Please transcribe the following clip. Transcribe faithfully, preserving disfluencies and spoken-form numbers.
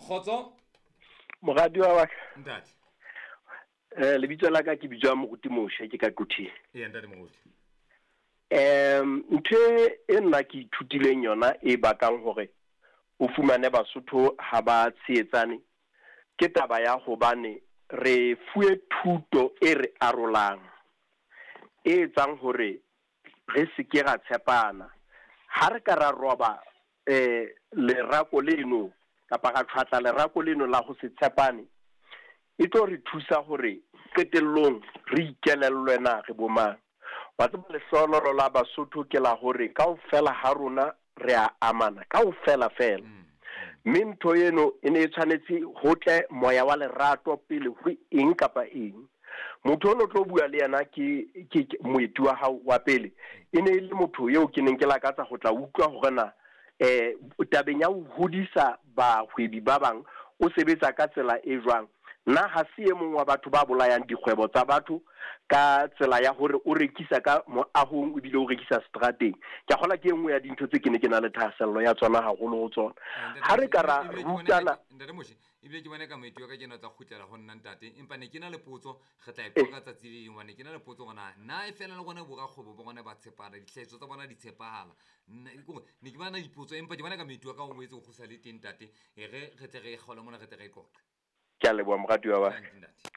Kgotso. Moratuwa wa ka. Ntate. Eh lebitso la ka ke bitswa Moruti Moshe, ke ka Quthing. Eya, ntate Moruti. Em ntho e nna ke ithutileng yona e bakang hore o fumane Basotho ha ba tshehetsane ke taba ya hobane re fuwe thuto e re arolang, e etsang hore re se ke ra tshepana. Ha re ka ra roba eh lerako leno kapa ra tjhwatla lerako leno la ho se tshepane, e tlo re thusa hore qetellong re ikelellwe na re bo mang. Wa tseba, lehlohonolo la Basotho ke la hore kaofela ha rona re a amana kaofela fela, mme ntho eno e ne e tshwanetse ho tle moya wa lerato pele ho eng kapa eng. Motho ono tlo bua le yena ke ke ke moeti wa hao wa pele, e ne e le motho eo ke neng ke lakatsa ho tla utlwa hore na eh tabeng ya ho hodisa bahwebi ba bang o sebetsa ka tsela e jwang. Nna ha se e mong wa batho ba bolayang dikgwebo tsa batho ka tsela ya hore o rekisa ka moahong ebile o rekisa strateng. Ke a kgolwa ke e nngwe ya dintho tse ke ne ke na le thahasello ya tsona haholo ho tsona. Ha re ka ra rutana. Ntate Moshe, ebile ke bona ka moeti wa ka kena tla kgutlela ho nna, ntate, empa ne ke na le potso, re tla e qoqa tsatsi le leng, hobane ke na le potso hore na na e fela le rona borakgwebo ba rona ba tshepana, dihlahiswa tsa bona di tshepahala. Nna ke hore ne ke bana dipotso, empa ke bona ka moeti wa ka o boetse o kgutla le teng, ntate, e re re tle re e kgaole mona, re tle re e qoqe. Ke a leboha, moratuwa wa ka. Ntate.